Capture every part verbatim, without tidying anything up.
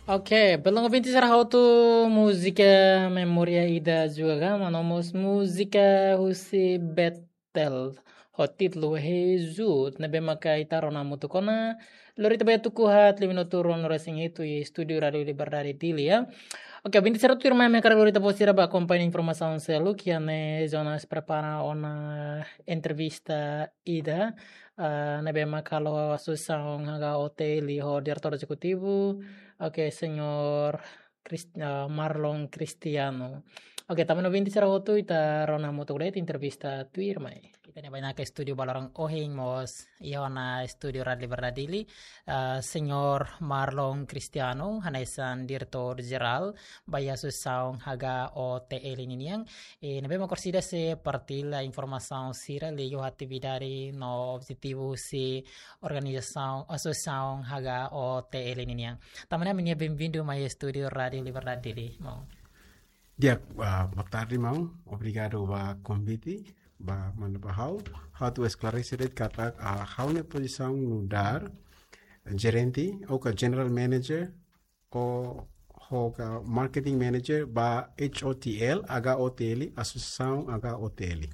Oke, belun ouvinte sira hotu, múzika memória ida juga ka, no mós múzika husi Betel ho títulu Hezud, ne'ebé maka ita rona hamutuk ona. Lori ita bá iha tuku haat liu minutu ruanulu-resin-hitu iha estúdiu Rádiu Liberdade Dili, ya. Oke, ouvinte sira tuirmai, ami hakarak lori ita-boot sira bá akompaña informasaun seluk, iha ne'e Jonas prepara ona entrevista ida, ah, ne'ebé maka halo asosiasaun H K O T L ho diretór ezekutivu, oke, señór Chris-, ah, Marlon Cristiano. Oke, tanba ouvinte sira hotu, ita rona hamutuk de'it entrevista tuirmai. Ita-nia bainaka estúdiu ba loron ohin mós iha ona estúdiu Rádiu Liberdade Dili, ah, señór Marlon Cristiano, hanesan diretór jerál ba iha asosiasaun H K O T L ninian. I ne'ebé maka orsida sei partilla informasaun sira liuliu atividade no objetivu husi organizasaun, asosiasaun H K O T L ninian. Tanba ne'e ami-nia benvindu mai estúdiu Rádiu Liberdade Dili, maun. Di'ak, ah, boa tarde, maun. Obrigadu ba konvite, ba manda ba ha'u. Ha'u atu esklarese de'it katak, ah, ha'u-nia pozisaun nu'udar jerente, ou ka general manager, ou, ou ka marketing manager ba H O T L, H O T L, asosiasaun H O T L.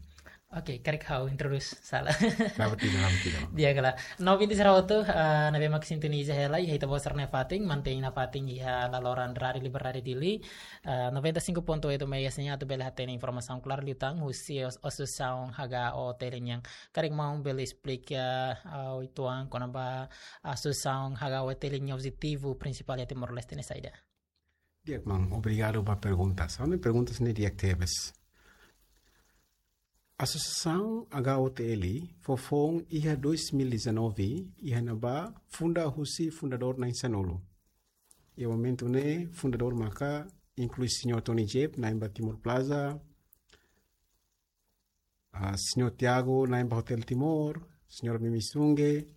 Oke, karik ha'u introdús sala. La'ós problema, la'ós problema. Di'ak, kala. No ouvinte sira hotu, ah, ne'ebé maka sintoniza hela iha ita-boot sira-nia fatin, mantein nafatin iha laloran Rádiu Liberdade Dili, ah, noventa e cinco ponto oito megahertz nian atu bele hatene informasaun klaru liután husi as-, asosiasaun H K O T L nian. Karik maun bele esplika, ah, uitoan kona-ba asosiasaun H K O T L nia objetivu prinsipál iha Timor-Leste ne'e saida? Di'ak, maun, obrigadu ba perguntas. Ha'u-nia perguntas ne'e di'ak tebes. Asosiasaun H O T L fó foun iha dois mil e dezanove, iha ne'ebá funda husi fundadór na'in sanulu. Iha momentu ne'e fundadór maka inklui señór Tony Jep, na'in ba Timor Plaza, ah, señór Tiago, na'in ba Hotel Timor, señora Mimi Sunge,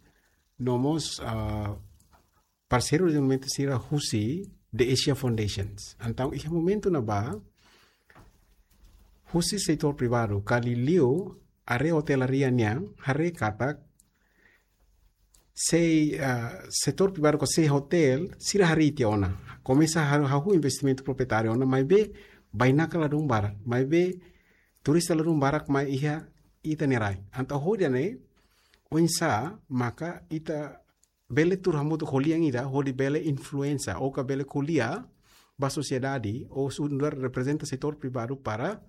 no mós, ah, parseiru de momentu sira husi The Asia Foundations. Entaun, iha momentu ne'ebá, husi setór privadu, ka liuliu área hotelaria nian, haree katak, sei, ah, setór privadu ka sei hotel, sira harii tiha ona. Komesa ha-, hahú investimentu proprietáriu ona, maibé bainaka ladún barak, maibé turista ladún barak mai iha ita-nia rai. Entaun hodi ida-ne'e, oinsá maka ita bele tuur hamutuk ho lian ida, hodi bele influensia, ou ka bele ko'alia ba sosiedade, ou nu'udar reprezenta setór privadu para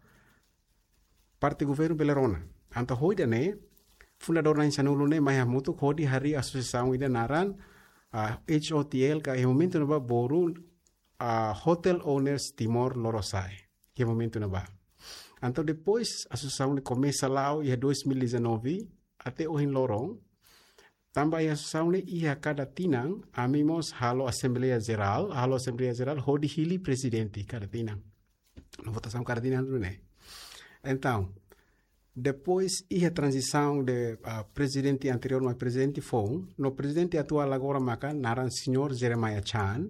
parte governu bele rona. Entaun hodi ida-ne'e, fundadór na'in sanulu ne'e mai hamutuk hodi harii asosiasaun ida naran, ah, H O T L ka iha momentu ne'ebá boru, ah, Hotel Owners Timor Lorosa'e. Iha momentu ne'ebá. Entaun depois, asosiasaun ne'e komesa la'o iha dois mil e dezanove, até ohin loron, tanba iha asosiasaun ne'e iha kada tinan, ami mós halo asembleia jerál, halo asembleia jerál hodi hili prezidente kada tinan. No votasaun kada tinan duni ne'e. Entaun, depois iha tranzisaun de, ah, prezidente anteriór mai prezidente foun, no prezidente atuál agora maka naran señór Jeremiah Chan,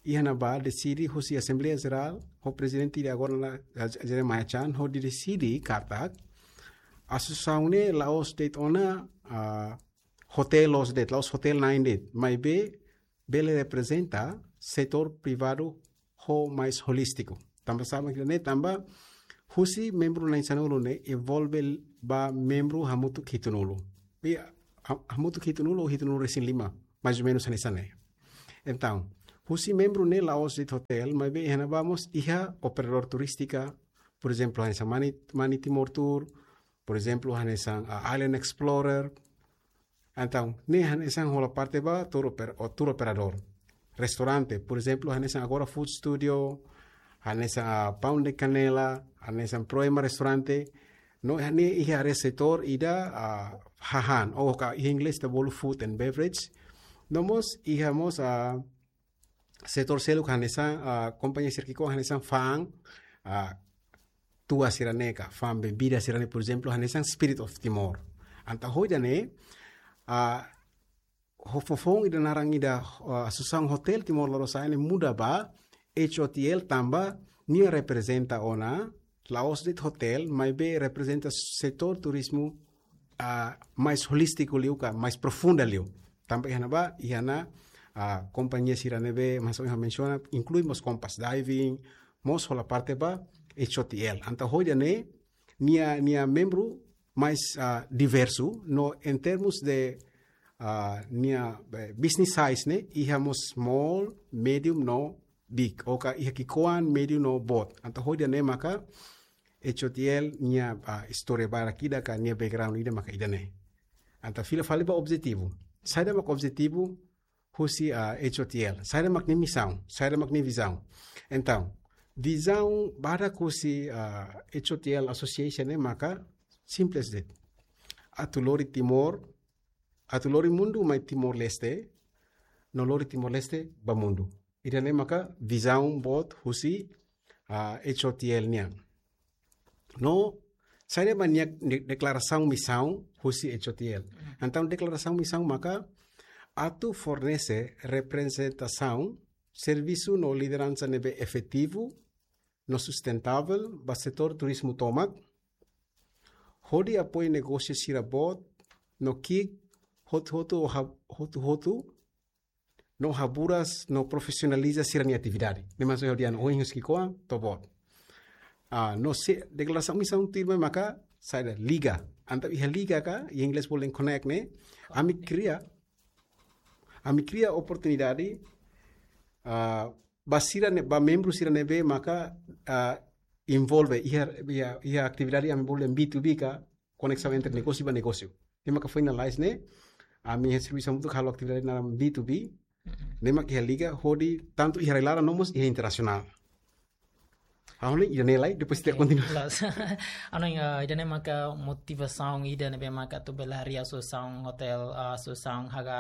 iha ne'ebá deside husi asembleia jerál, ho prezidente de agora la, ah, Jeremiah Chan, hodi deside katak, asosiasaun ne'e la'ós de'it ona, ah, hotel loos de'it, la'ós hotel na'in de'it, maibé bele reprezenta setór privadu ho mais holístiku. Tanba saida mak ne'e, tanba husi membru na'in sanulu ne'e evolve ba membru hamutuk hitunulu. I ha-, hamutuk hitunulu ou hitunulu-resin-lima, mais ou menus hanesan ne'e. Entaun, husi membru ne'e la'ós de'it hotel, maibé iha ne'ebá mós iha operadór turístika, por ezemplu, hanesan Mani, Mani Timor Tour, por ezemplu, hanesan, ah, Island Explorer. Entaun, ne'e hanesan hola parte ba tour oper-, ou tour operadór. Restaurante, por ezemplu, hanesan agora Food Studio, hanesan, ah, Pão de Canela, hanesan Proema Restaurante. No, ne'e iha área setór ida, ah, hahán, ou ka iha inglés ita bolu food and beverage. No mós, iha mós, ah, setór seluk hanesan, ah, kompañia sira ki'ikoan hanesan fa'an, ah, tua sira-ne'e ka, fa'an bebida sira-ne'e, por ezemplu, hanesan Spirit of Timor. Entaun hodi ida-ne'e, ah, ho fó foun ida naran ida, ah, Asosiasaun Hotel Timor Lorosa'e ne'e muda ba H O T L tanba nia reprezenta ona, la'ós de'it hotel, maibé reprezenta setór turizmu, ah, mais holístiku liu ka, mais profunda liu. Tanba iha ne'ebá, iha ona ah, kompañia sira ne'ebé, mas ohin mensiona, inklui mós Compass Diving, mós hola parte ba H O T L. Entaun hodi ne'e, nia, nia membru mais, ah, diversu, no em termos de, ah, nia, eh, business size ne'e, iha mós small, medium, no big. Ou ka iha ki'ikoan, medium, no boot. Entaun hodi ne'e maka, H O T L nia, ah, istória barak ida ka nia background ida maka ida-ne'e. Entaun fila fali ba objetivu. Saida mak objetivu husi, ah, H O T L. Saida mak nia misaun, saida mak nia vizaun. Entaun, vizaun badak husi, ah, H O T L Association ne'e maka simples de'it. Atu lori Timor, atu lori mundu mai Timor-Leste, no lori Timor-Leste ba mundu. Ida-ne'e maka vizaun boot husi, ah, H O T L nian. No, saida mak nia de-, deklarasaun misaun husi H O T L. Entaun deklarasaun misaun maka atu fornese reprezentasaun, servisu no lideransa ne'ebé efetivu no sustentável ba setór turizmu tomak, hodi apoiu negósiu sira boot no ki'ik hotu-hotu, ha-, hotu-hotu, no haburas no profisionaliza sira-nia atividade. Ne'e mak ha'u dehan ohin husi ki'ikoan to'o boot. Ah, no se deklarasaun misaun tuirmai maka saida, liga. Entaun iha liga ka, iha inglés bolu connect ne'e, ami kria, ami kria oportunidade, ah, ba sira ne'e, ba membru sira ne'ebé maka, ah, envolve iha, iha, iha atividade ami bolu B two B ka, koneksaun entre negósiu ba negósiu. Ne'e maka finalize ne'e, ami iha servisu hamutuk halo atividade naran B two B, ne'e maka iha liga hodi tantu iha rai-laran no mós iha internasionál. Ha'u hanoin ida-ne'e lai, depois ita kontinua. Loos. Hanoin, eh, ida-ne'e maka motivasaun ida ne'ebé maka atu bele harii asosiasaun hotel, eh, asosiasaun H H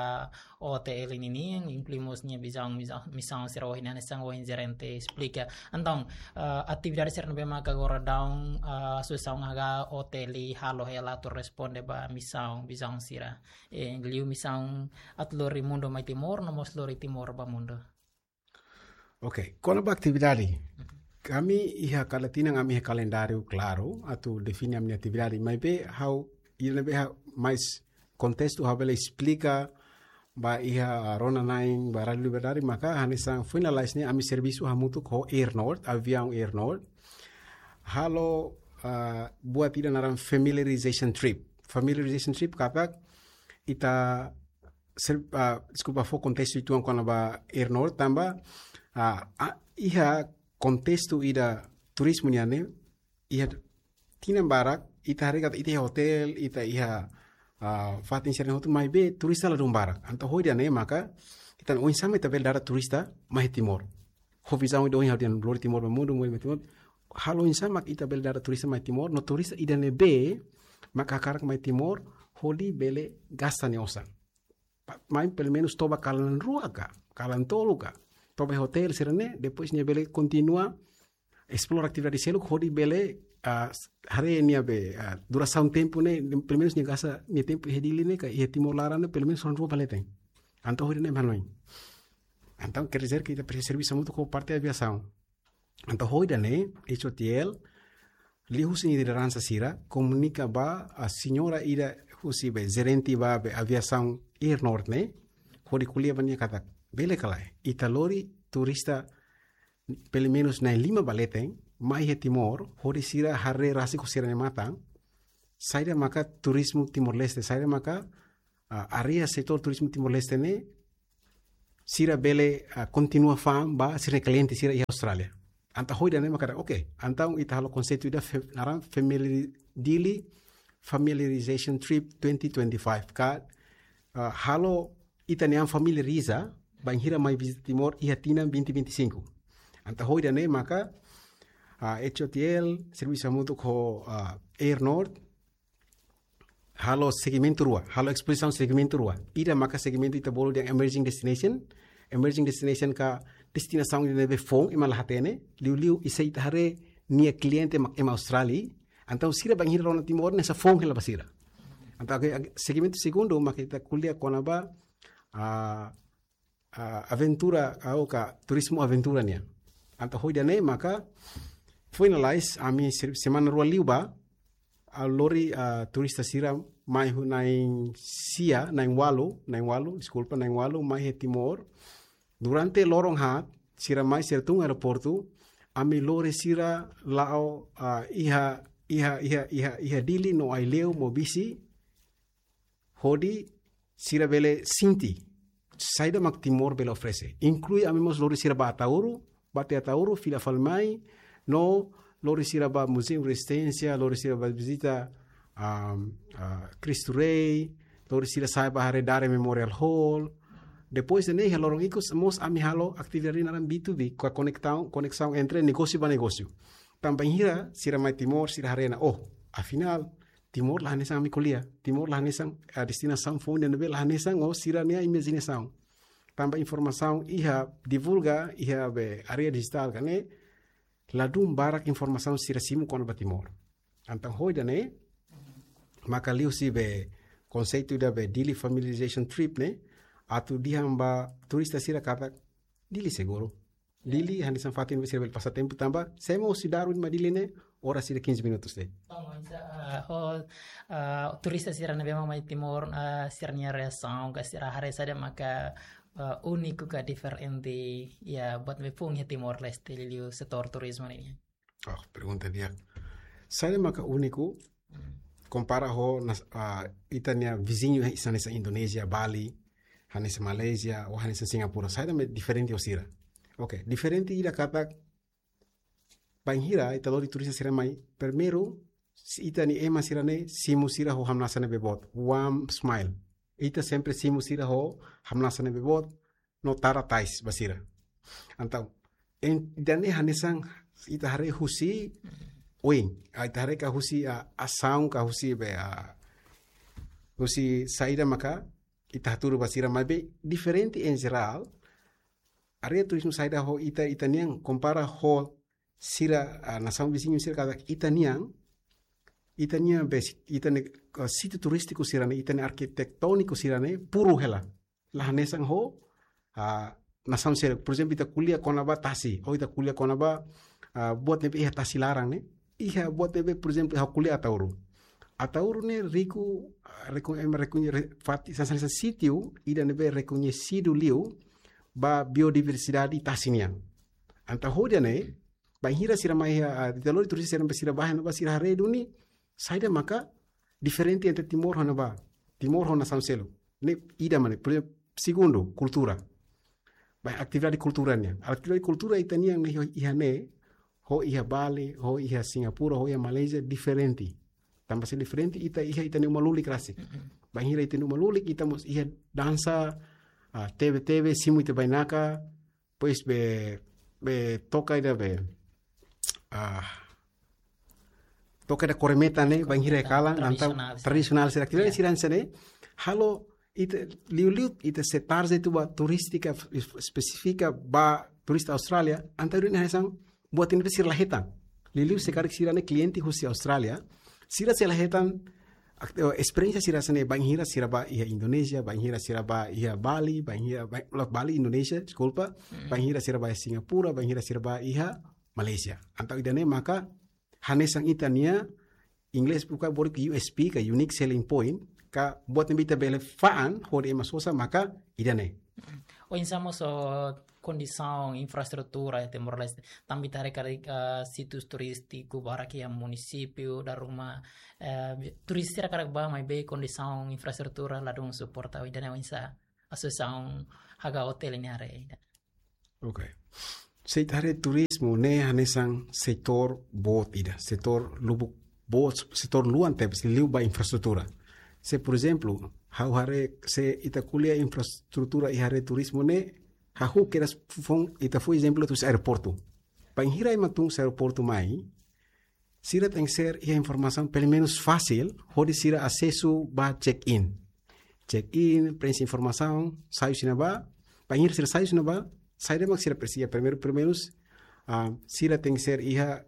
O T L ninian, inklui mós nia vizaun, misaun, misaun sira ohin hanesan ohin jerente esplika. Entaun, eh, atividade sira ne'ebé maka agora daudaun, eh, asosiasaun H H O T L halo hela atu responde ba misaun, vizaun sira. Eh, liu misaun atu lori mundu mai Timor, no mós lori Timor ba mundu. Ok, kona-ba atividade. Ami iha kada tinan, ami iha kalendáriu klaru, atu define ami-nia atividade. Maibé ha'u, ida ne'ebé ha'u mais kontestu ha'u bele esplika ba iha rona-na'in ba Rádiu Liberdade, maka hanesan finalize ne'e ami servisu hamutuk ho Air Nord, aviaun Air Nord. Halo, ah, buat ida naran familiarization trip. Familiarization trip katak ita ser-, ah, deskulpa, fó kontestu uitoan kona-ba Air Nord tanba, ah, ah, iha kontestu ida turizmu nian ne'e, iha tinan barak, ita haree katak ita iha hotel, ita iha, ah, fatin sira-ne'e hotu, maibé turista ladún barak. Entaun hodi ne'e maka, ita oinsá mak ita bele dada turista mai Timor. Ho vizaun ida ohin ha'u dehan lori Timor ba mundu, mundu mai Timor. Halo oinsá mak ita bele dada turista mai Timor, no turista ida ne'ebé maka hakarak mai Timor, hodi bele gasta nia osan. Pa-, mai pelumenus toba kalan rua ka, kalan tolu ka. Toba hotel sira-ne'e, depois nia bele kontinua esplora atividade seluk hodi bele, ah, s-, haree nia be, ah, durasaun tempu ne'e, pelumenus nia gasta nia tempu iha Dili ne'e ka iha Timor laran ne'e, pelumenus loron rua ba leten. Entaun hodi ne'e hanoin. Entaun, quer dizer que ita presiza servisu hamutuk ho parte aviasaun. Entaun hodi ne'e, H O T L, liuhusi nia lideransa sira, komunika ba, ah, señora ida husi be, jerente ba be, aviasaun Air Nord ne'e, hodi ko'alia ba nia katak, bele ka lae, ita lori turista, pelumenus na'in lima ba leten, mai iha Timor, hodi sira haree rasik ho sira-nia matan, saida maka turizmu Timor-Leste, saida maka, ah, área setór turizmu Timor-Leste ne'e, sira bele, ah, kontinua fa'an ba sira-nia kliente sira iha Austrália. Entaun hodi ne'e maka, ok, entaun ita halo konseitu ida fe-, naran family, Dili Familiarization Trip twenty twenty-five. Ka, ah, halo ita-nia an familiariza, bainhira mai vizita Timor iha tinan vinte vinte e cinco. Entaun hodi ne'e maka, ah, H O T L, servisu hamutuk ho, ah, Air Nord, halo segmentu rua, halo espozisaun segmentu rua. Ida maka segmentu ita bolu dehan emerging destination. Emerging destination ka destinasaun ida ne'ebé foun, ema la hatene, liuliu ita haree nia kliente mak ema Austrália. Entaun sira bainhira rona Timor ne'e hanesan foun hela ba sira. Entaun, ok, ok, segmentu segundu maka ita ko'alia kona-ba, ah, ah, aventura, ah, ou ka turizmu aventura nian. Entaun hodi ne'e maka finalize ami se-, semana rua liubá, ah, lori, ah, turista sira mai ho na'in sia, na'in ualu, na'in ualu, deskulpa, na'in ualu, mai iha Timor. Durante loron haat, sira mai sira tun aeroportu, ami lori sira la'o, ah, iha, iha, iha, iha, iha Dili no Aileu Maubisse, hodi sira bele sente saida mak Timor bele oferese. Inklui ami mós lori sira ba Ataúro, ba tiha Ataúro, fila fali mai, no lori sira ba Muzeu Rezisténsia, lori sira ba vizita, ah, ah, Cristo Rei, lori sira sa'e ba haree Dare Memorial Hall. Depois de ne'e, iha loron ikus mós ami halo atividade naran B two B, ka koneksaun, koneksaun entre negósiu ba negósiu. Tanba bainhira sira mai Timor, sira haree ona, oh, afinál, Timor la hanesan ami ko'alia. Timor la hanesan, ah, destinasaun foun ida ne'ebé la hanesan, oh, sira-nia imajinasaun. Tanba informasaun iha divulga, iha be área dijitál ka ne'e, ladún barak informasaun sira simu kona-ba Timor. Entaun ho ida-ne'e, maka liuhusi be konseitu ida be Dili Familiarization Trip ne'e, atu dehan ba turista sira katak Dili seguru. Dili hanesan fatin ne'ebé sira bele pasa tempu tanba, se ema husi Darwin mai Dili ne'e, oras ida quinze minutos de'it. Bom, mas, ah, ho, ah, turista sira ne'ebé mak mai Timor, ah, sira-nia reasaun, ka sira haree saida maka, ah, úniku ka diferente, iha buat ne'ebé foun iha Timor-Leste, liuliu setór turizmu ne'e? Oh, pergunta di'ak. Saida maka úniku, kompara ho nas-, ah, ita-nia viziñu, eh, hanesan Indonézia, Bali, hanesan Malázia, ou hanesan Singapura. Saida mak diferente ho sira? Oke, diferente ida katak, bainhira ita lori turista sira mai, primeiru, se ita-nia ema sira-ne'e, simu sira ho hamnasa ne'ebé boot, warm smile. Ita sempre simu sira ho hamnasa ne'ebé boot, no tara tais ba sira. Entaun, en, ida-ne'e hanesan ita haree husi oin, ah, ita haree ka husi, ah, asaun ka husi be, ah, husi saida maka ita hatudu ba sira, maibé diferente en jerál, área turizmu saida ho ita, ita-nian, kompara ho sira, ah, nasaun viziñu sira katak ita-nian, ita-nian be, ita-nia, ah, sítiu turístiku sira-ne'e, ita-nia arkitettóniku sira-ne'e, puru hela. La hanesan ho, ah, nasaun seluk. Por ezemplu, ita ko'alia kona-ba tasi, ou ita ko'alia kona-ba, ah, buat ne'ebé iha tasi laran ne'e. Iha buat ne'ebé, por ezemplu, ha'u ko'alia Ataúro. Ataúro ne'e riku, ah, rekoñe-, ema rekoñe-, re-, fati, hanesan, hanesan sítiu ida ne'ebé rekoñesidu liu ba biodiversidade tasi nian. Entaun ho ida-ne'e, bainhira sira mai, ah, ita lori turista sira, sira bá iha ne'ebá, sira haree duni, saida maka diferente entre Timor ho ne'ebá, Timor ho nasaun seluk. Ne'e ida mak ne'e, por ezemplu, segundu, kultura. Ba atividade kultura nian. Atividade kultura ita-nian ne'e iha ne'e, ho iha Bali, ho iha Singapura, ho iha Malázia, diferente. Tanba se diferente, ita iha ita-nia uma lulik rasik. Mm-mm. Bainhira ita-nia uma lulik, ita mós iha dansa, ah, tebe-tebe, simu ita bainaka, depois be, be toka ida be, ah, toka ida korneta ne'e, bainhira iha kalan, entaun tradisionál sira. Tradisionál sira, atividade sira hanesan ne'e, halo ita liuliu ita sei target atu ba turístika es-, espesífika ba turista Austrália, entaun ne'e hanesan buat ne'ebé sira la hetan. Liuliu se karik sira-ne'e kliente husi Austrália, sira sei la hetan ak-, eh, esperiénsia sira hanesan ne'e bainhira sira bá iha Indonézia, bainhira sira bá iha Bali, bainhira, bai-, la, Bali, Indonézia, deskulpa, bainhira sira bá iha Singapura, bainhira sira bá iha Malázia. Entaun ida-ne'e maka hanesan ita-nia, inglés buka borik U S P ka unique selling point, ka buat ne'ebé ita bele fa'an hodi ema sosa maka ida-ne'e. Oinsá mós ho kondisaun infraestrutura iha Timor-Leste, tanba ita haree karik, ah, sítiu turístiku barak iha munisípiu, dala ruma, eh, turista sira hakarak bá maibé kondisaun infraestrutura ladún suporta, ida-ne'e oinsá asosiasaun H K O T L nian haree ida? Oke. Se ita haree turizmu ne'e hanesan setór boot ida, setór lubuk boot, setór luan tebes liu ba infraestrutura. Se, por ezemplu, ha'u haree se ita ko'alia infraestrutura iha área turizmu ne'e, hahú kedas foun, ita fó ezemplu husi aeroportu. Bainhira ema tun husi aeroportu mai, sira tenke ser iha informasaun pelumenus fasil hodi sira asesu ba check-in. Check-in, prenxe informasaun, sai husi ne'ebá, bainhira sira sai husi ne'ebá, saida mak sira presiza, primeiru, primeiru, ah, sira tenke ser iha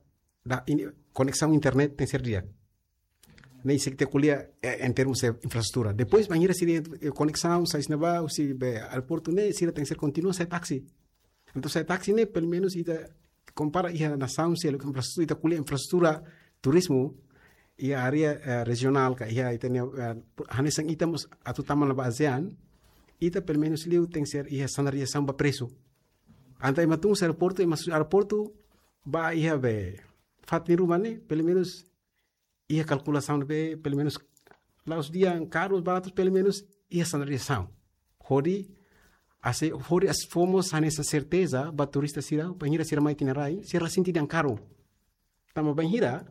da-, ini, koneksaun internet tenke ser di'ak. Ne'e se ita ko'alia, eh, en termus de infraestrutura. Depois, bainhira sira, eh, koneksaun, sai husi ne'ebá, husi be aeroportu ne'e, sira tenke ser kontinua sai taksi. Entaun sai taksi ne'e, pelumenus ita kompara iha nasaun seluk infraestrutura, ita ko'alia infraestrutura turizmu, iha área, eh, rejionál ka iha ita-nia, eh, hanesan ita mós atu tama ona ba ASEAN, ita pelumenus liu tenke ser iha standardizasaun ba presu. Entaun ema tun husi aeroportu, ema husi aeroportu ba iha be fatin ruma ne'e, pelumenus iha kalkulasaun be, pelumenus la'ós dehan karus, baratus, pelumenus iha standardizasaun. Hodi, ase, hodi ase fó mós hanesan serteza ba turista sira, bainhira sira mai tiha nia rai, sira la sente dehan karun. Tanba bainhira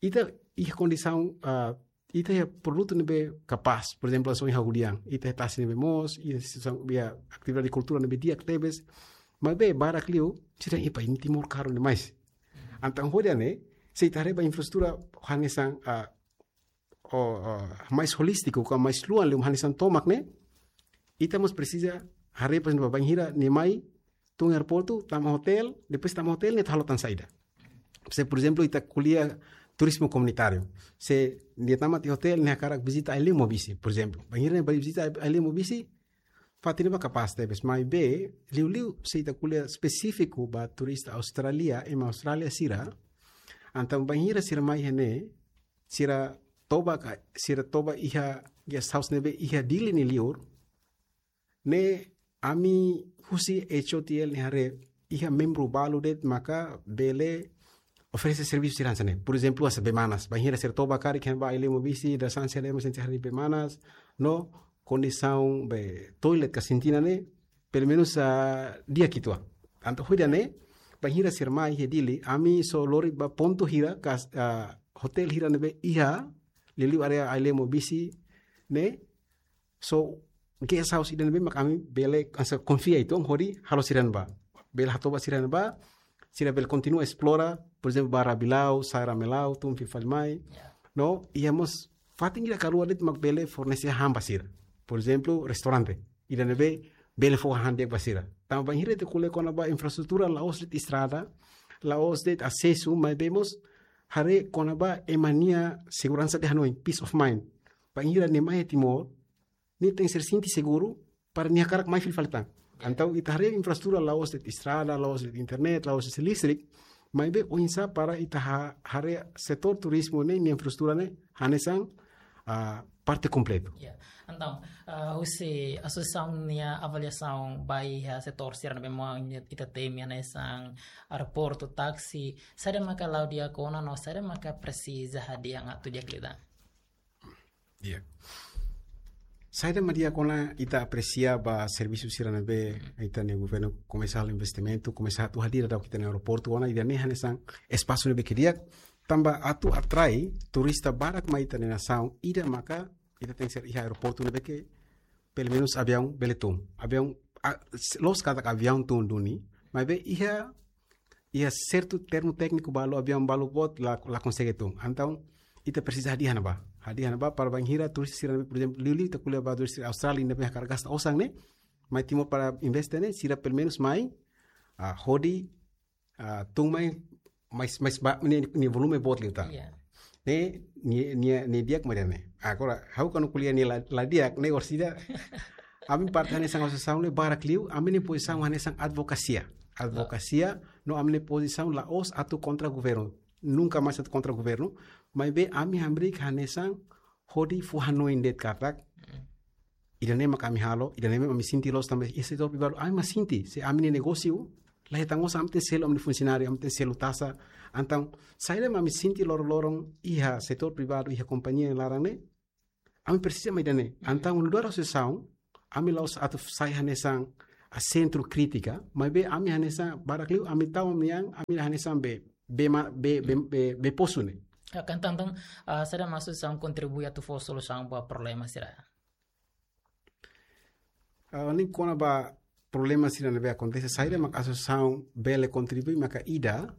ita iha kondisaun, ah, ita iha produtu ne'ebé kapás, por ezemplu, hanesan ohin ha'u dehan, ita iha tasi ne'ebé moos, iha sesa-, iha atividade kultura ne'ebé di'ak tebes, maibé barak liu sira dehan, "Epa, iha Timor karun demais." Entaun hodi nune'e, se ita haree ba infraestrutura hanesan, ah, o, o, mais holístiku, ka mais luan liu, hanesan tomak ne'e, ita mós presiza haree, por ezemplu, bainhira nia mai tun aeroportu, tama hotel, depois tama hotel ne'e atu halo tan saida. Se, por ezemplu, ita ko'alia turizmu komunitáriu. Se nia tama tiha hotel, nia hakarak vizita ai-liu Maubisse, por ezemplu. Bainhira nia bá vizita ai-liu Maubisse, fatin ne'ebá kapás tebes, maibé liuliu se ita ko'alia espesífiku ba turista Austrália, ema Austrália sira, entaun bainhira sira mai iha ne'e, sira toba ka, sira toba iha guest house ne'ebé iha Dili nia liur, ne'e ami husi H O T L nia haree iha membru balu de'it maka bele oferese servisu sira hanesan ne'e. Por ezemplu, hanesan bee manas. Bainhira sira toba karik iha ne'ebá ai-liu Maubisse, dadeer-saan sira dehan ema sente haree bee manas, no kondisaun be toilet ka sintina ne'e, pelumenus, ah, di'ak uitoan. Entaun hodi nune'e, bainhira sira mai iha Dili, ami só lori ba pontu hira ka, ah, hotel hira ne'ebé iha liuliu área ai-liu Maubisse ne'e, só guest house ida ne'ebé mak ami bele hanesan konfia uitoan hodi halo sira-nia bá. Bele hatoba sira-nia bá, sira bele kontinua esplora, por ezemplu, ba Rabilau, Saira Melau, tun fila fali mai. Ya. No, iha mós fatin ida ka rua de'it mak bele fornese han ba sira. Por ezemplu, restaurante. Ida ne'ebé bele fó han di'ak ba sira. Tanba bainhira ita ko'alia kona-ba infraestrutura la'ós de'it estrada, la'ós de'it asesu, maibé mós haree kona-ba ema nia seguransa de hanoin, peace of mind. Bainhira nia mai iha Timor, nia tenke ser sente seguru para nia hakarak mai fila fali tan. Entaun ita haree infraestrutura la'ós de'it estrada, la'ós de'it internet, la'ós de'it listrik, maibé oinsá para ita ha-, haree setór turizmu ne'e, nia infraestrutura ne'e hanesan, ah, parte kompletu. Ya. Entaun, ah, husi asosiasaun nia avaliasaun ba iha setór sira ne'ebé mak ita temi hanesan aeroportu, taksi, saida maka la'o di'ak ona no saida maka presiza hadi'a atu di'ak liután? Iya. Saida mak di'ak ona, ita apresia ba servisu sira ne'ebé ita-nia governu komesa halo investimentu, komesa atu hadir daudauk ita-nia aeroportu ona, ida-ne'e hanesan espasu ne'ebé ke di'ak, tanba atu atrai turista barak mai ita-nia nasaun, ida maka ita tenke ser iha aeroportu ne'ebé ke pelumenus aviaun bele tun. Aviaun, ah, s-, la'ós katak aviaun tun duni, maibé iha, iha sertu termu tékniku balu, aviaun balu boot la, la konsege tun. Entaun, ita presiza hadi'a iha ne'ebá. Hadi'a iha ne'ebá para bainhira turista sira ne'ebé, por ezemplu, liuliu ita ko'alia ba turista Austrália ne'ebé hakarak gasta osan ne'e, mai Timor para investe ne'e, sira pelumenus mai, ah, hodi, ah, tun mai, mais, mais ba, nia, nia volume boot liután. Iya. Ne'e, nia, nia, nia di'ak mak ida-ne'e. Agora, ha'u kuandu ko'alia nia la, la di'ak, ne'e orsida, ami parte hanesan asosiasaun ne'e barak liu, ami-nia pozisaun hanesan advokasia. Advokasia, no ami-nia pozisaun la'ós atu kontra governu. Nunka mais atu kontra governu. Maibé ami hamriik hanesan hodi fó hanoin de'it katak, ida-ne'e mak ami halo, ida-ne'e mak ami sente loos tanba iha setór privadu, ami mak sente, se ami-nia negósiu la hetan osan, ami tenke selu ami-nia funsionáriu, ami tenke selu taxa. Entaun, saida mak ami sente loron-loron iha setór privadu, iha kompañia nia laran ne'e, ami presiza mak ida-ne'e. Entaun, nu'udar asosiasaun, ami la'ós atu sai hanesan sentru krítika, maibé ami hanesan barak liu, ami tau ami-nian, ami hanesan bee, bee ma-, bee, bee, bee, bee posu ne'e. Ya, entaun, entaun, ah, saida mak asosiasaun kontribui atu fó solusaun ba problema sira? Ah, ne'e kona-ba problema sira ne'ebé akontese, saida mak asosiasaun bele kontribui maka ida,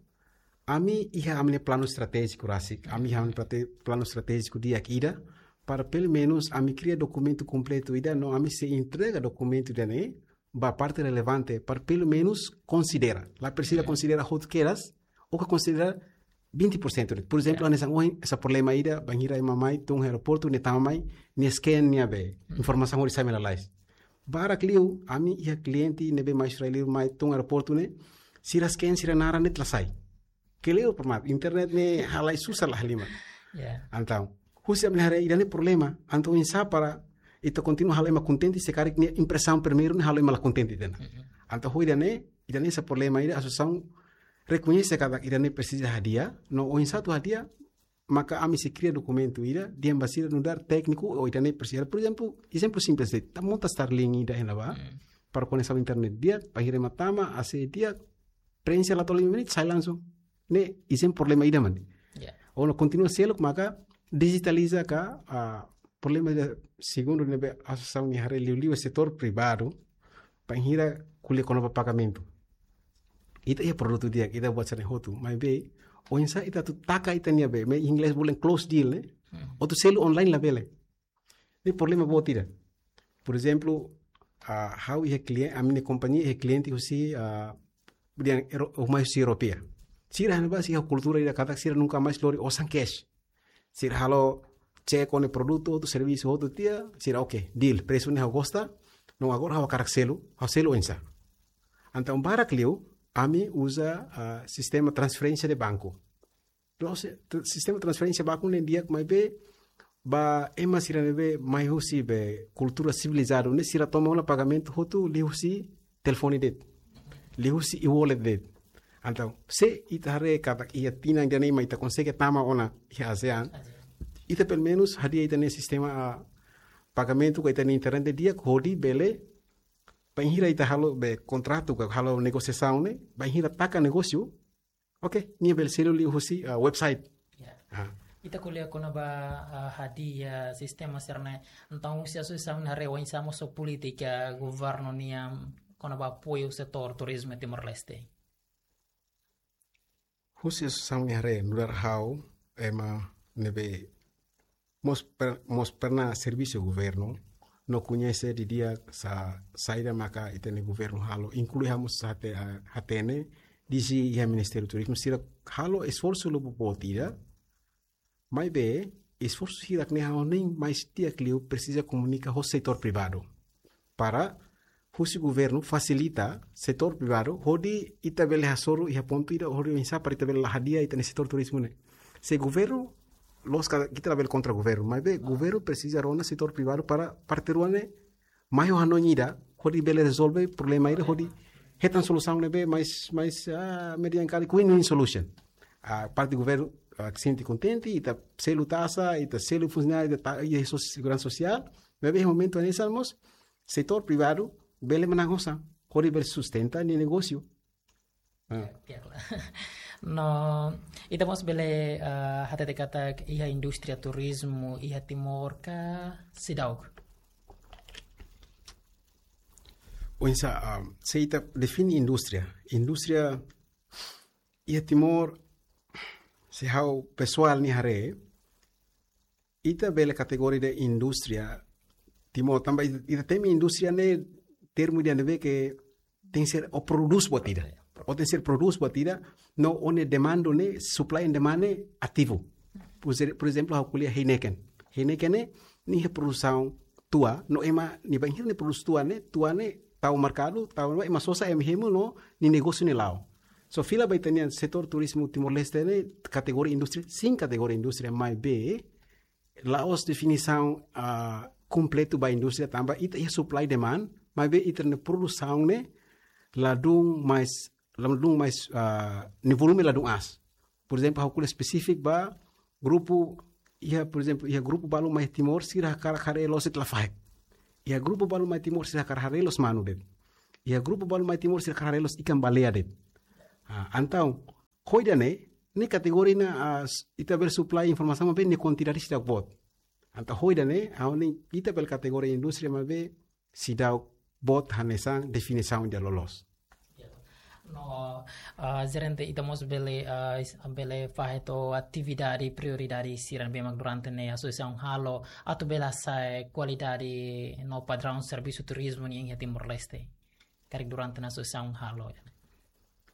ami iha ami-nia planu estratéjiku rasik, ami iha ami-nia plate-, planu estratéjiku di'ak ida, para pelumenus ami kria dokumentu kompletu ida, no ami sei entrega dokumentu ida-ne'e ba parte relevante, para pelumenus konsidera. La presiza konsidera hotu kedas, ou ke konsidera vinte por cento de'it. Por ezemplu, hanesan ohin, hanesan problema ida, bainhira ema mai, tun aeroportu, nia tama mai, nia scan nia bee, informasaun hodi sai mai lalais. Barak liu, ami iha kliente ne'ebé mai Austrália, mai tun aeroportu ne'e, sira scan sira naran de'it la sai. Kleur, por mat, internet ne'e halai susar la halimar. Ya. Entaun, husi ami-nia haree ida-ne'e problema, entaun oinsá para ita kontinua halo ema kontente, se karik nia impresaun primeiru ne'e halo ema la kontente tiha ona. Mhm. Entaun, ho ida-ne'e, ida-ne'e hanesan problema ida, asosiasaun rekoñese katak ida-ne'e presiza hadi'a, no oinsá atu hadi'a, maka ami sei kria dokumentu ida, dehan ba sira nu'udar tékniku, ou ida-ne'e presiza. Por ezemplu, ezemplu simples de'it, ita monta Starlink ida iha ne'ebá, Hmm. para koneksaun internet di'ak, bainhira ema tama, A C di'ak, preenxe la to'o lima menit, sai langsung. Ne'e, ezemplu problema ida mak ne'e. Ya. Ou no kontinua seluk, maka dijitaliza ka, ah, problema ida segundu ne'ebé asosiasaun nia haree liuliu setór privadu, bainhira ko'alia kona-ba pagamentu. Ita iha produtu di'ak, ita buat sira-ne'e hotu. Maibé, oinsá ita atu taka ita-nia be, maibé inglés bolu close deal, ne'e? Hmm. Atu selu online labele. Ne'e problema boot ida. Por ezemplu, ah, ha'u iha klien-, ami-nia kompañia iha kliente husi, ah, dehan Euro-, mai husi Europeia. Sira hanesan ba sira iha kultura ida katak sira nunka mais lori osan cash. Sira halo cek ona produtu, hotu servisu hotu tiha, sira oke, deal, presu ne'e ha'u gosta, no agora ha'u hakarak selu, ha'u selu oinsá. Entaun barak liu, ami uza, ah, sistema transferénsia de banku. Terus, te-, sistema transferénsia banku ne'e di'ak maibé, ba ema sira ne'ebé mai husi be kultura sivilizadu ne'e sira toma ona pagamentu hotu liuhusi telefone de'it. Liuhusi e-wallet de'it. Entaun, se ita haree katak iha tinan ida-ne'e mak ita konsege tama ona iha ASEAN. ASEAN. Ita pelumenus hadi'a ita-nia sistema, ah, pagamentu ka ita-nia internet di'ak hodi bele, bainhira ita halo be kontratu ka halo negosiasaun ne'e, bainhira taka negósiu, oke, nia bele selu liuhusi, ah, website. Ya. Ah. Ita ko'alia kona-ba, ah, hadi'a sistema sira-ne'e. Entaun, se asosiasaun haree oinsá mós ho polítika governu nian kona-ba apoiu setór turizmu Timor-Leste. Husi asosiasaun nia haree, nu'udar ha'u, ema ne'ebé mós per-, mós pernah servisu governu, no koñese didi'ak sa-, saida maka ita-nia governu halo, inklui ha'u mós hate-, ah, hatene, disi iha Ministériu Turizmu, sira halo esforsu lubuk boot ida, maibé, esforsu hirak-ne'e ha'u hanoin mais di'ak liu presiza komunika ho setór privadu. Para husi governu fasilita setór privadu, hodi ita bele hasoru iha pontu ida, hodi oinsá para ita bele la hadi'a ita-nia setór turizmu ne'e. Se governu, lójika ita labele kontra governu, maibé governu presiza rona setór privadu para parte rua ne'e mai ho hanoin ida, hodi bele rezolve problema ida, hodi hetan solusaun ne'ebé mais, mais, ah, median kali win-win solution. Ah, parte governu, ah, sente kontente, ita selu taxa, ita selu funsionáriu, ita ta-, iha so-, seguransa sosiál, maibé iha momentu hanesan mós, setór privadu bele manán osan, hodi bele sustenta nia negósiu. Ah. Ya, ya, klaru. No, ita mós bele, ah, hatete katak iha indústria turizmu iha Timor ka seidauk? Oinsá, ah, se ita define indústria. Indústria iha Timor, se ha'u pesoál nia haree, ita bele kategoria de'it indústria Timor, tanba ita, ita temi indústria ne'e termu ida ne'ebé ke tenke ser ó prodús buat ida. Ó tenke ser prodús buat ida, no ó-nia demand ne'e, supply and demand ne'e ativu. Por exe-, por ezemplu, ha'u ko'alia Heineken. Heineken ne'e, nia iha produsaun tua, no ema, nia bainhira nia prodús tua ne'e, tua ne'e tau merkadu, tau ema sosa, ema hemu no nia negósiu ne'e la'o. So, fila ba ita-nia setór turizmu Timor-Leste ne'e kategoria indústria, sin kategoria indústria, maibé, la'ós definisaun, ah, kompletu ba indústria tanba ita iha supply demand, maibé ita-nia produsaun ne'e ladún mais, ladún mais, ah, nia volume ladún aas. Por ezemplu, ha'u ko'alia espesífiku ba grupu, iha, por ezemplu, iha grupu balu mai Timor, sira hakarak haree loos de'it lafaek. Iha grupu balu mai Timor, sira hakarak haree loos manu de'it. Iha grupu balu mai Timor, sira hakarak haree loos ikan baleia de'it. Ah, entaun, ho ida-ne'e, ne'e kategoria ne'e, ah, s-, ita bele supply informasaun maibé nia kuantidade seidauk boot. Entaun ho ida-ne'e, ha'u hanoin ita bele kategoria indústria maibé seidauk boot hanesan definisaun ida loloos. Ya. No, ah, jerente ita mós bele, ah, is-, bele fahe to'o atividade prioridade sira ne'ebé mak durante ne'e asosiasaun halo atu bele hasa'e kualidade no padraun servisu turizmu nian iha Timor-Leste. Karik durante ne'e asosiasaun halo.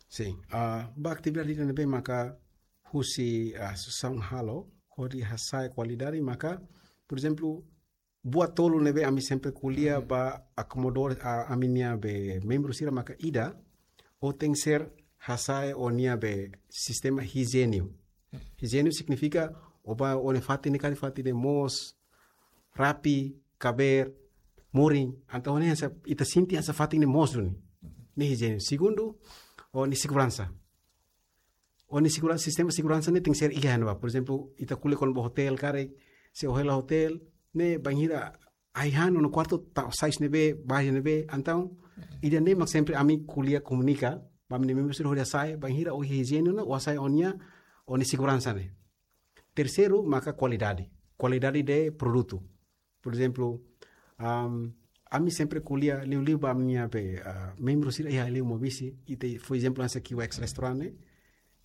Sin, ah, ba atividade ida ne'ebé maka husi, ah, asosiasaun halo, hodi hasa'e kualidade maka, por ezemplu, buat tolu ne'ebé ami sempre ko'alia Hmm. ba akomodadór, ah, ami-nia be membru sira maka ida, ó tenke ser hasa'e ó-nia be sistema hijiéniku. Hmm. Hijiéniku signifika Ó bá ó-nia fatin ne'e karik fatin ne'e moos, rapi, kabeer, murin. Entaun ne'e hanesan ita sente hanesan fatin ne'e moos duni. Ne'e hijiene. Segundu, ó-nia seguransa. Ó-nia segura-, sistema seguransa ne'e tenke ser iha ne'ebá. Por ezemplu, ita ko'alia kona-ba hotel karik, se ó hela hotel, ne'e bainhira ai-han ó-nia kuartu ta-, sai husi ne'ebé, bá iha ne'ebé, entaun, ida-ne'e mak sempre ami ko'alia komunika ba ami-nia membru sira hodi hasa'e, bainhira ó iha hijiene ona, ó hasa'e ó-nia, ó-nia seguransa ne'e. Terseiru, maka kualidade. Kualidade de produtu. Por ezemplu, am, ami sempre ko'alia liuliu ba ami-nia be, ah, membru sira iha liu Maubisse, ita fó ezemplu hanesan Q X restaurante.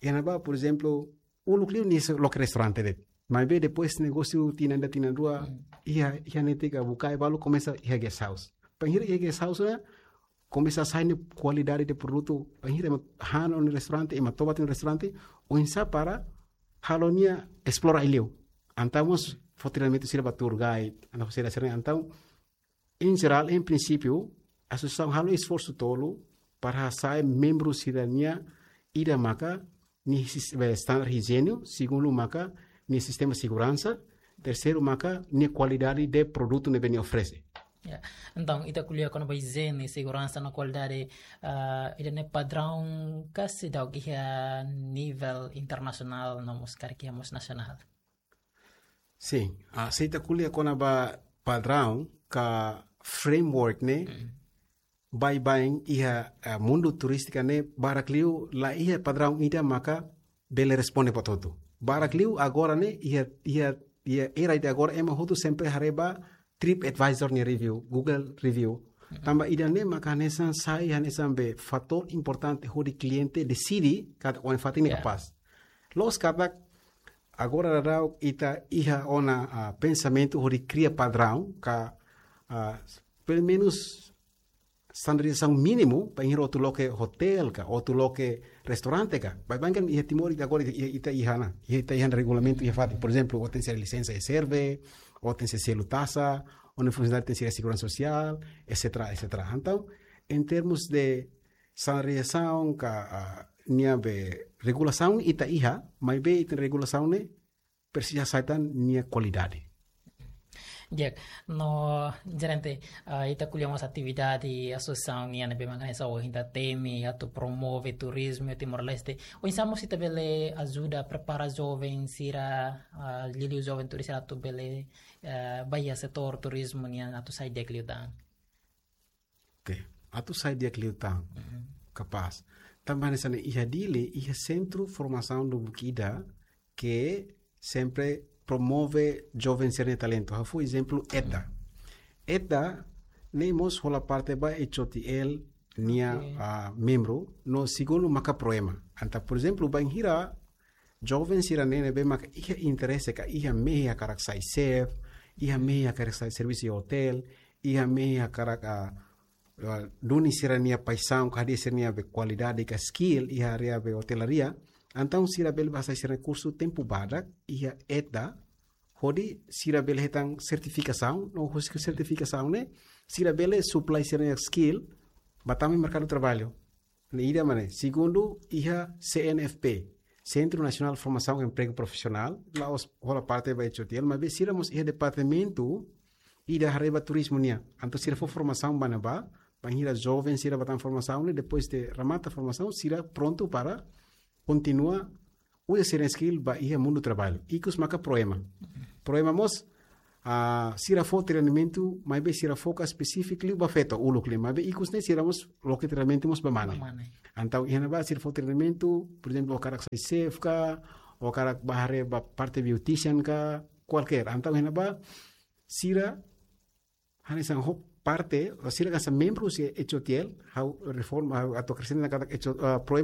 Iha ne'ebá, por ezemplu, uluk liu nia sei loke restaurante de'it. Maibé depois negósiu tinan ida tinan rua, iha, iha netik ka buka balu komesa iha guest house. Bainhira iha guest house ne'e, komesa hasa'e nia kualidade de produtu. Bainhira ema han ó-nia restaurante, ema toba tiha ó-nia restaurante, oinsá para halo nia esplora ai-liu. Entaun mós fó treinamentu sira ba tour guide, entaun sira sira entaun, em geral, em princípio, asosiasaun halo esforsu tolu para hasa'e membru sira-nia ida maka nia sis-, be, standar hijiene, segundu maka nia sistema seguransa, terseiru maka nia kualidade de produtu ne'ebé nia oferese. Ya. Entaun, ita ko'alia kona-ba hijiene, seguransa no kualidade, ah, ida-ne'e padraun ka seidauk iha nivel internasionál no mós karik iha mós nasionál? Sin, ah, se ita ko'alia kona-ba padraun ka framework ne'e, baibain iha, ah, mundu turístika ne'e barak liu la iha padraun ida maka bele responde buat hotu. Barak liu agora ne'e iha, iha, iha era ida agora ema hotu sempre haree ba TripAdvisor nia review, Google review. Tanba ida-ne'e maka hanesan sai hanesan be fatór importante hodi kliente deside katak ó-nia fatin ne'e kapás. Loos katak agora daudaun ita iha ona, ah, pensamentu hodi kria padraun ka, ah, pelumenus standardizasaun mínimu bainhira atu loke hotel ka, atu loke restaurante ka. Baibain iha Timor ita agora ita, ita iha ona, ita iha ona regulamentu iha fatin. Por ezemplu, ó tenke ser lisensa reserve, ó tenke ser selu taxa, ó-nia funsionáriu tenke ser seguransa sosiál, etcetera, etcetera. Entaun, em termos de standardizasaun ka, ah, nia be regulasaun ita iha, maibé ita regulasaun ne'e presiza hasa'e tan nia kualidade. Di'ak, no, jerente, ah, ita ko'alia mós atividade asosiasaun nian ne'ebé mak hanesan ohin ita temi atu promove turizmu iha Timor-Leste. Oinsá mós ita bele ajuda prepara joven sira, ah, liuliu joven turis sira atu bele, ah, ba iha setór turizmu nian atu sai di'ak liután. Oke, atu sai di'ak liután. Kapás. Tanba hanesan ne'e iha Dili, iha sentru formasaun lubuk ida ke sempre promove joven sira-nia talentu. Ha'u fó ezemplu EDDA. EDDA ne'e mós hola parte ba H O T L nia, ah, membru, no segundu maka PROEMA. Entaun, por ezemplu, bainhira joven sira-ne'e ne'ebé maka iha interese ka iha mehi hakarak sai chef, iha mehi hakarak sai servisu iha hotel, iha mehi hakarak, ah, ah, duni sira-nia paixaun ka hadi'a sira-nia be kualidade ka skill iha área be hotelaria. Entaun sira bele bá hasai sira-nia kursu tempu badak iha EDDA, hodi sira bele hetan sertifikasaun, no husi sertifikasaun ne'e sira bele supply sira-nia skill ba tama iha merkadu traballu. Ne'e ida mak ne'e. Segundu, iha C N F P, Centro Nacional de Formação e Emprego Profissional, la'ós hola parte ba H O T L, maibé sira mós iha departamentu ida haree ba turizmu nian. Entaun sira fó formasaun ba ne'ebá, bainhira joven sira bá tama formasaun ne'e, depois de remata formasaun, sira prontu para kontinua uza sira-nia skill ba iha mundu traballu. Ikus maka PROEMA. PROEMA mós, ah, sira fó treinamentu, maibé sira foka espesífiku liu ba feto, uluk liu. Maibé ikus ne'e sira mós loke treinamentu mós ba mane. Ba mane. Entaun iha ne'ebá sira fó treinamentu, por ezemplu, ó hakarak sai chef ka, ó hakarak bá haree ba parte beautician ka, kualkér. Entaun iha ne'ebá sira hanesan ho parte, sira hanesan membru husi H O T L, ha'u reforma, ha'u atu akresenta katak H O, ah, PROEMA